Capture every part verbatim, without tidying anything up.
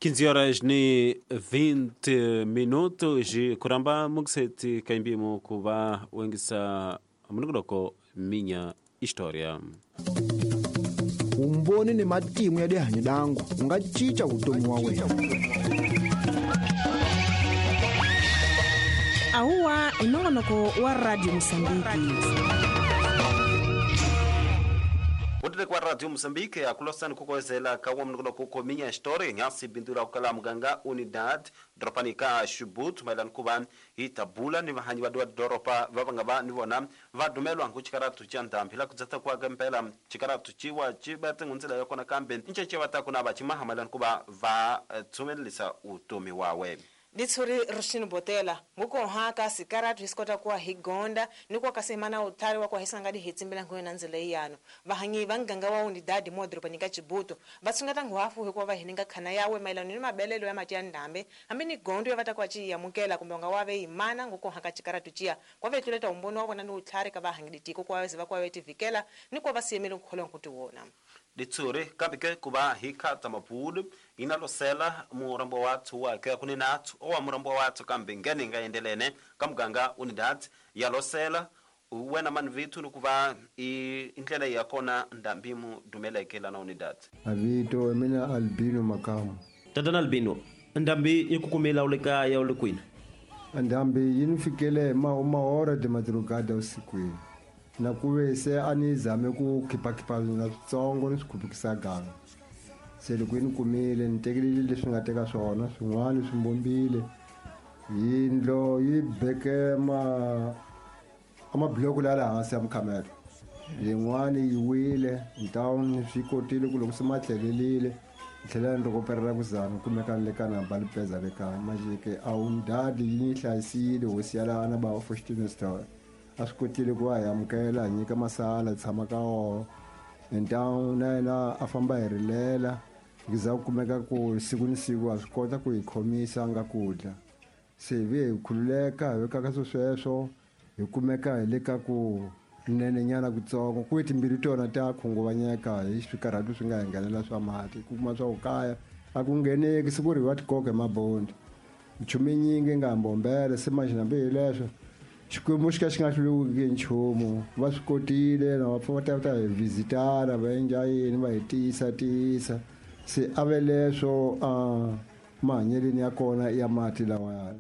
quinze horas ni vinte minutos kuramba mukuseti kaimbimo kuva wengisa munongoloko Minha História. Umboni ni matimu ya dihanyo dangu unga chicha utomi wa wena. Ahuwa inongonoko wa Radio Mozambique. Utile kwa Radio Mozambique akulosani kukozela kawa mnoko kuko Minha História nyasi bindura kukala muganga Unidad dropanika Shubut mailan kuban itabula ni vahanyi vadua doropa vavanga va nivona vadumelwa nkuchikaratu cha ndambi kudzata kwa gempela chikaratu chiwa chibate ngunzela yokona kambe ncheche vatakuna vachimaha mailan kuba va tsumelisa utomi wawe. Ditsuri Rushini Botela nguko haka sikaratu hisikota kuwa higonda nikuwa kasemana utari wa kwa hisangadi hitsimbela nguyo nanzela iyano vahanyi vanganga wa Unidad modropanika Chibuto vatsungata nguhafu hikuwa vahininga khana yawe mailano ni mabelelo ya mati ya ndambe hambi ni gondo ya vatakuwa chiyamukela kumbe nga wave imana nguko haka chikaratu chia kwa vetuleta umbono wa vona ni utlhari ka vahangi ditiko kwa wezi vakwa vetivikela nikuwa vasiyemele nkukholwa nkutiwona. Ditsuri kambike kuba hikata mapudu inalosela murambo watu wake kuninatu owa murambo watu kambe ngene ngaendelene kamganga Unidad yalosela wena man vitu nukuva indlela yakona ndambimu dumeleke na Unidad. Avito mina Albino Makamu. Tatana Albino ndambi ikukumela uleka ya ulekwini. Ndambi yinifikele ma uma hora de madrugada usikwini. Na kuve se anizame ku khipa-khipa na switsongo ni swi khupukisa ganga. Se loko yi ni kumile ni tekelile leswi nga teka swona swin'wana swi mbombile yindlo yi beke ma amabloko la la hansi ya mukhamelo yin'wani yi wile ntown swi kotile ku loko se ma tlhelelile ni tlhela ni rikoperela ku zama kumeka ni le ka namba lipeza le kaya majeke a Unidad yi ni hlayisile hosi ya laha na bava Fortune Store a swi kotile ku va hi amukela hi nyika masala hi tshama ka wona ntown na yena a famba hi rilela hi za ku kumeka ku siku ni siku a swi kota ku hi khomisa nga ku dya se hi ve hi khululeka hi veka ka swo sweswo hi kumeka hi le ka ku nenenyana kutsongo ku timbirhi tona ta khunguvanyeka hi swikarhatu swi nga hi nghenela swa mati ku kuma swa ku kaya a ku ngheneki siku ri va tikoka hi mabondi nchumu yinyingi nga mbombela se manje hambi hi leswo Xikwembu xi ka xi nga hluleki nchumu va swi kotile na va pfa va ta ta hi visitana va endla yini va hi tiyisa tiyisa se a ve leswo a mahanyeleni ya kona ya mati lawaya.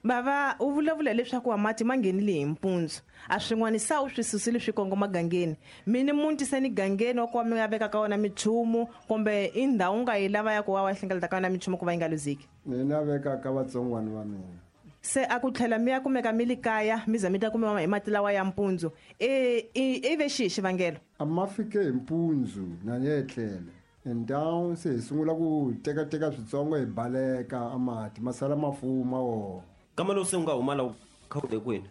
Bava u vulavula leswaku wa mati ma nghenile hi mpundzu a swin'wana sa u swi susile swi kongoma gangeni mini munti se ni gangeni wa ku mi nga veka ka wona michumu kumbe i ndhawu nga yi lava ya ku wa wa hlengeleta ka wona michumu ku va yi nga luzeki. Mina veka ka vatsongwana va mina se a ku tlhela mi ya kumeka mi li kaya mi za mi ta kumiwa hi mati lawa ya mpundzu e i ve xihi xivangelo? A ma fike hi mpundzu na ni etlele and down se hi sungula ku tekateka switsongo hi baleka a mati ma sala ma fuma wona. Kama lowu se u nga huma la khawule kwini?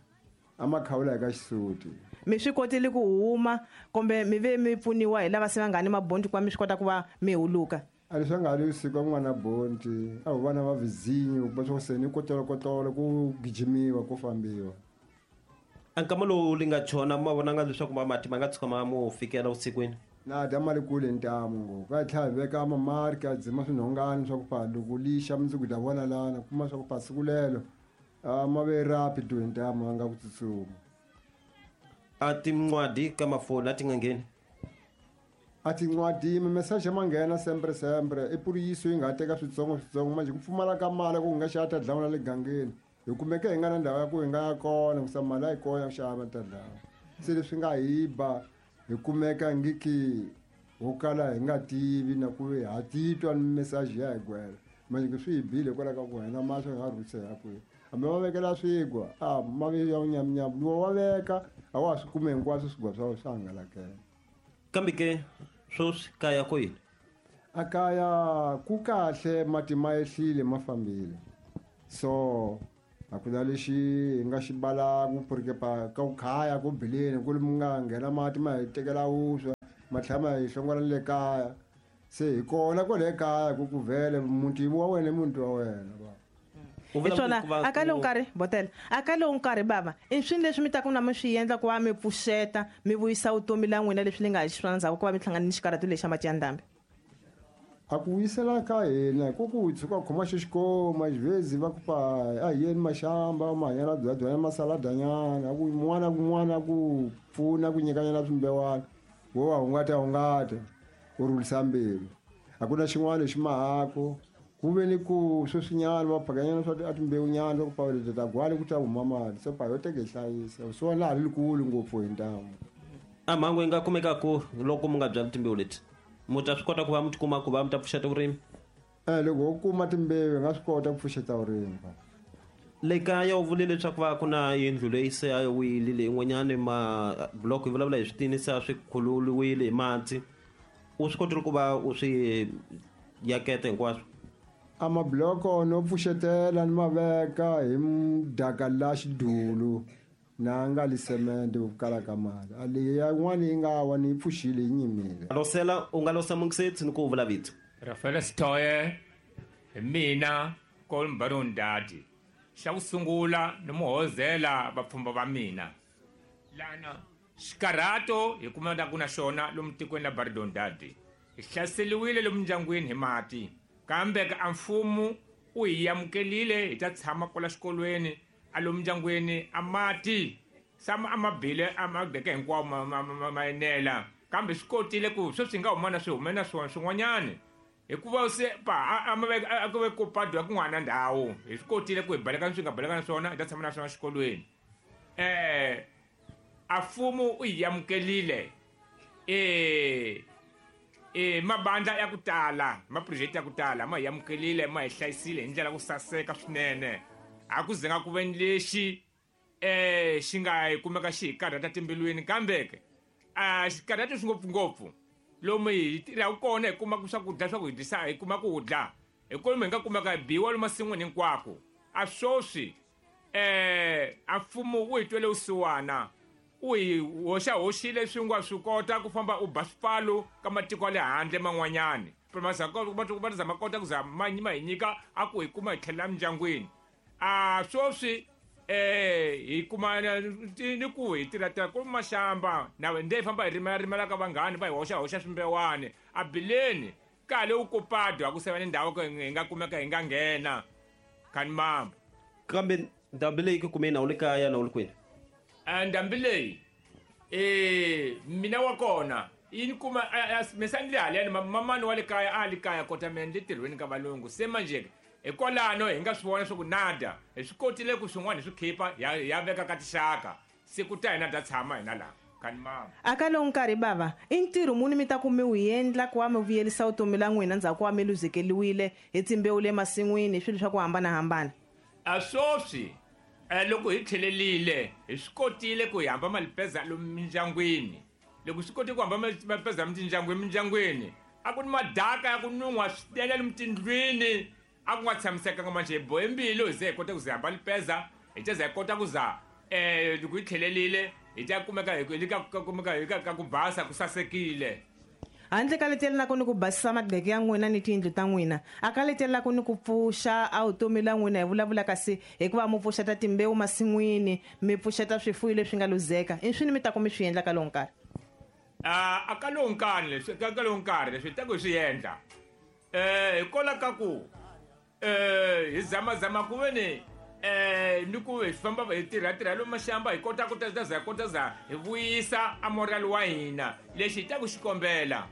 A ma khawula hi ka xisuti. Mi swi kotile ku huma kumbe mi ve mi pfuniwa hi lava se va nga ni mabondi ku va mi swi kota ku va mi huluka? A leswi nga ri siku n'wana bondi a wu vana va vizinyo ku va swo se ni kotolokotolo ku gijimiwa ku fambiwa. A nkama lowu li nga chona ma vonanga leswaku ma mati ma nga tshuka ma mu fikela vusikwini? Na dya mali kule ntamu ngopfu a tlhela hi veka mamarki a dzima swinhongani swa ku pa loko lixa mundzuku ta vona lana kuma swa ku pa siku lelo a ma ve rapid ntamu a nga ku tsutsuma. A tin'wadi ka mafoni a ti nga ngheni? A tin'wadi mimeseji ma nghena sempre sempre i puriyiso yi nga teka switsongo switsongo manje ku pfumala ka mali ku nga xa ta dlawula le gangeni hi kumeke hi nga na ndhawu ya ku hi nga ya kona ku sa mali a yi kona ya ku xava ta dlawa se leswi nga hi ba hi kumeka ngiki ho kala hi nga tivi na ku ha titwa ni meseji ya hi gwela manje ku swi hi bile hikwalaho ka ku hina mahlo hi nga rhusela kwihi hambi va vekela swigwa a ma ve ya nyamnyam lowu wa veka a wa swi kume hinkwaswo swigwa swa swa hangalakela. Kambe ke sweswi kaya ko yini? A kaya ku kahle mati ma ehlile ma fambile so a ku na lexi hi nga xi balaku porque pa ka ku khaya ku bileni ku mi nga nghena mati ma hi tekela vuswa ma tlhela ma hi hlongola le kaya se hi kona kwale kaya ku ku vhele muti wa wena i muti wa wena va. Hi swona a ka lowu nkarhi Botela a ka lowu nkarhi bava i swini leswi mi taku na mi swi endla ku va mi pfuxeta mi vuyisa vutomi la n'wina leswi ni nga hi xiswona ndzhaku ku va mi hlangana ni xikarhatu lexi xa mati ya ndhambi? A ku vuyisela ka hina ku ku tshuka khoma xixikoma xivezi va ku pa a hi yeni maxamba mahanyana byadwana masaladanyana ku n'wana kun'wana ku pfuna ku nyikanyana swimbewana wo wa hungata hungata u rhulisa mbilu. A ku na xin'wana lexi mahako ku ve ni ku sweswinyana va phakanyana swa a timbewunyana swa ku pa leti ta gwale ku ta huma mali se pa yo teke hi hlayisa swona laha ri likulu ngopfu hi ntamu. A mhangu yi nga kumekaku loko mu nga byali timbewu leti mu ta swi kota ku va mi tikuma ku va mi ta pfuxeta vurimi? Eh loko ho kuma timbewu hi nga swi kota ku pfuxeta vurimi. Le kaya u vule leswaku va ku na yindlu leyi se a yi wile leyin'wanyani mabloko yi vulavula hi switini se a swi khululiwile hi mati u swi kotile ku va u swi yaketa hinkwaswo? A mabloko no pfuxetela ni ma veka hi mudaka la xidulu na nga li semende ku kala ka mali a leyi yin'wana yi nga wa ni yi pfuxile yi nyimile. Losela u nga losa mungisetsi ni ku vula vito. Rafael Sitoye hi mina Kolmbaron Dadi. Xa ku sungula ni muhozela vapfhumba va mina lana xikarhato hi kumeka ku na xona lomu tikweni la Baridon Dadi. Hi hlaseriwile lomu ndyangwini hi mati kambe ka mfumo u hi amukelile hi ta tshama kwala xikolweni a lomu ndyangwini a mati sama a mabile a mageke hinkwawo ma enela kambe swi kotile ku sweswi hi nga huma na swi hume na swona swin'wanyani hikuva se pa a ma a ku ve ku padwa kun'wana ndhawu hi swi kotile ku hi baleka swi nga baleka na swona hi ta tshama na swona xikolweni. Eh a mfumo u hi amukelile eh eh mabandla ya ku tala maproject ya ku tala ma hi amukelile ma hi hlayisile hi ndlela ku saseka swinene. A ku zenga ku ve ni lexi eh xi nga hi kumeka xi hi karhata timbilwini kambe ke a xi karhata swi ngopfungopfu lomu hi tirhaka kona hi kumaka swakudya swa ku hi dyisa hi kuma ku dya hi kolomu hi nga kumeka hi biwa lomu masin'wini hinkwako. A swoswi eh a mfumo wu hi twele vusiwana u hi hoxa hoxile swi nga swi kota ku famba u ba swipfalo ka matiko ya le handle man'wanyani va zama kota ku za ma ma hi nyika a ku hi kuma hi tlhelela mindyangwini. A swoswi eh hi kuma ni ku hi tirha tirha ku maxamba na nde hi famba hi rimela rimela ka vanghani va hi hoxa hoxa swimbewani a bileni kale u kopadwa ku seva ni ndhawu ku hi nga kumeka hi nga nghena khani mamba. Kambe ndhambi leyi ku kumeni a wu le kaya na u le kwini? A ndhambi leyi eh mina wa kona yi ni kuma misa ni le haleni mamani wa le kaya a le kaya kota mina ni le tirhweni ka valungu se manje hikwalano hi nga swi vona swa ku nada hi swi kotile ku swin'wana hi swi khipa ya ya veka ka tixaka siku ta hina ta tshama hina laha khani mama. A ka lowu nkarhi bava i ntirho muni mi ta ku mi wu endla ku va mi vuyelisa vutomi la n'wina ndzhaku wa mi luzekeliwile hi timbewu le masin'wini hi swilo swa ku hambanahambana? A swoswi loko hi tlhelelile hi swi kotile ku hi hamba malipeza lomu mindyangwini. Loko swi kotile ku hamba malipeza mindyangwini mindyangwini a ku ni madaka ya ku nun'hwa swinene lomu tindlwini a ku nga tshamisekanga manje hi bohe mbilu hi ze hi kota ku ze hamba lipeza hi ta za hi kota ku za eh loko hi tlhelelile hi ta kumeka hi ka kumeka hi ka ku basa ku sasekile. Handle ka letelelaka ni ku basisa madleke ya n'wina ni tiyindlu ta n'wina a ka letelelaka ni ku pfuxa a vutomi la n'wina hi vulavula kasi hikuva mi pfuxeta timbewu masin'wini mi pfuxeta swifuwo leswi nga luzeka i swini mi ta ku mi swi endla ka lowu nkarhi? A a ka lowu nkarhi leswi ka lowu nkarhi leswi hi ta ku hi swi endla eh hikwalaho ka ku eh hi zamazama ku ve ni eh ni ku hi famba hi tirha tirha lomu maxamba hi kota ku ta za kota za hi vuyisa a moral wa hina lexi hi ta ku xi kombela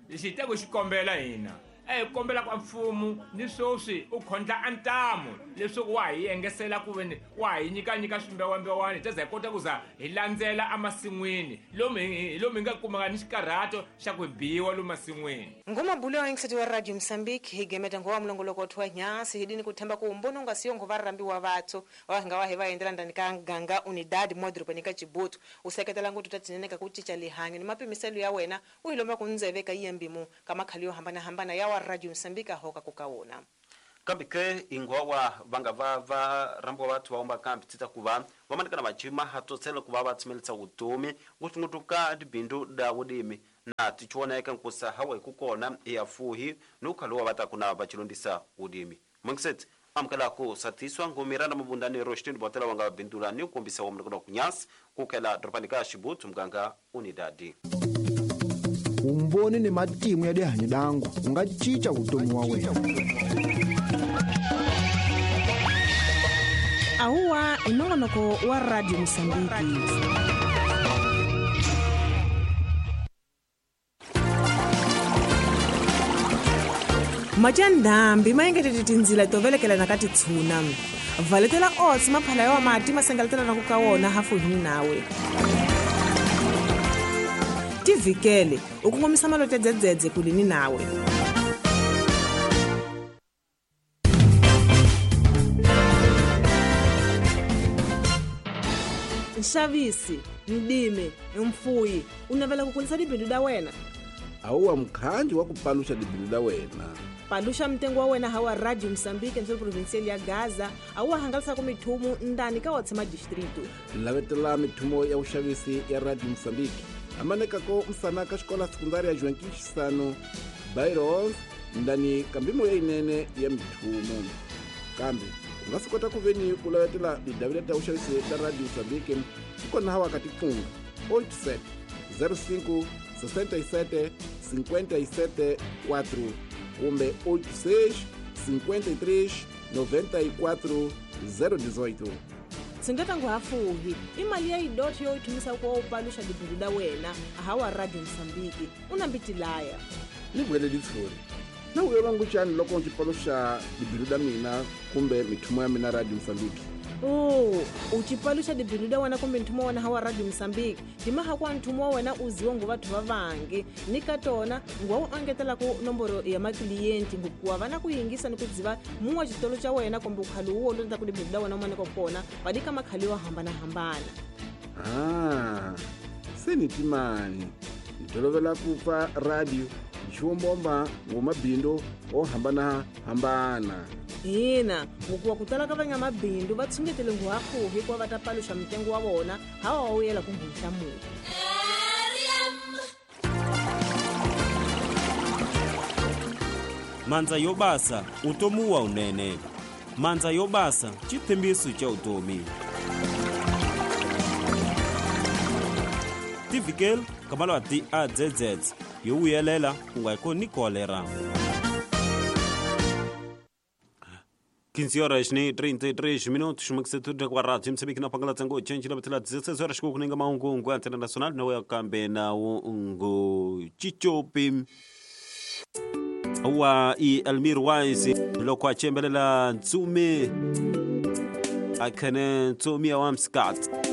lexi hi ta ku xi kombela hina a hi kombela ku mfumo ni swoswi u khondla a ntamu leswaku wa hi engesela ku ve ni wa hi nyika nyika swimbewambewani hi ta za hi kota ku za hi landzela emasin'wini lomu hi lomu hi nga kumaka ni xikarhato xa ku biwa lomu masin'wini. Ngomabulu ya yingiseti wa Radio Mozambique hi gemeta ngowa mulongoloko wa nyasi hidini kuthemba ku mbono nga siyo ngo varambiwa vathu wa nga wa hi va endlela ndani ka ganga Unidad modropeni ka Chibutu u seketela nguthu ta tinene ka ku cinca lihanyo ni mapimiselo ya wena u hi lomba ku ndzeve ka yembimu ka makhali yo hambanahambana ya wa Radio Mozambique hoka ku ka wona. Kambe ke ingwawa vanga va va rambiwa vathu va umba kambi tita ku va va manikana vachima hatsotsela ku va va tshimelisa vutomi ngopfungopfu ka tibindzu da vurimi na tichioneka nkusa hawa hi ku kona ya fuhi ni ku khalowa va ta ku na va chilondisa vurimi. Mungisetsi amukela ku satiswa ngomira na mabundani ro xitindi botela wa nga bindula ni ku kombisa wa mloko ku nyasi ku kela doropani ka Xibutu muganga Unidadi. Vumbhoni ni matimu ya dihanyi dangu u nga cinca vutomi wa wena. Ahuwa i nongonoko wa Radio Mosambiki. Matya ndhambi ma engetete tindzila to velekelana ka titshuna. Valetela oats maphala ya mati ma sengaletelana ku ka wona hafu hi nawe. Tivikele u kongomisa malote dzedzedze kulini nawe. Nxavisi, ndime, mfuyi, u navela ku kulisa tibindu da wena. Awuwa mukhanji wa ku paluxa tibindu da wena. Paluxa mtengo wa wena hawa Radio Mosambiki ntsolo provincial ya Gaza, awuwa hangalasa ku mithumu ndani ka watsema distrito. Lavetela mithumo ya vuxavisi ya Radio Mosambiki. Amanekako msana ka xikola sekundari ya Joaquim Chissano, Bairros, ndani ka mbimo ya inene ya mithumo. Kambe u nga swi kota ku veni ku lavetela tidavila ta vuxavisi ta Radio Mosambiki kona hawa ka tiqingho oito sete zero cinco sessenta e sete cinquenta e sete quatro kumbe oito seis cinquenta e três noventa e quatro zero dezoito. Tsungeta nguhafuhi i mali ya idoti yo yi thumisa ku u paluxa tibindu da wena hawa Radio Mosambiki u na mbitilaya. Ni vuyele litshuri na vuyelwa nguchani loko ndzi paluxa tibindu da mina kumbe mithumo ya mina Radio Mosambiki. Oh, u ci paluxa tibindu da wena kumbe nthumo wa wena hawa Radio Mosambiki dimaha kwa nthumo wa wena u ziwa ngo vathu va vangi ni ka tona ngwa u engetela ku nomboro ya makiliyenti ngikuwa va na ku yingisa ni ku dziva mun'we xitolo xa wena kumbe ukhali wo londza ku tibindu da wena u maneka kona va dika makhali yo hambanahambana. Ah, se ni timani ni tolovela ku pfa radio xiwombomba ngomabindu o hambanahambana. Hina ngokuwa ku tala ka van'wamabindu va tshungetele nguhafuhi hikuva va ta paluxa mitengo wa vona hawa wa wuyela ku nghenhlamula. Mandza yo basa utomi wa unene. Mandza yo basa xitshembiso xa vutomi. Tivikele ka malwati a dzedzedze yo vuyelela ku nga koni kolera. quinze horas e trinta e três minutos, uma com a rádio Moçambique na pangala tsango change na batela dezesseis horas com ninga maungu ngo internacional no ya kambe na ungo chichopi wa i Almir Wise loko a chembelela Ntsumi akene Ntsumi wa Mskat.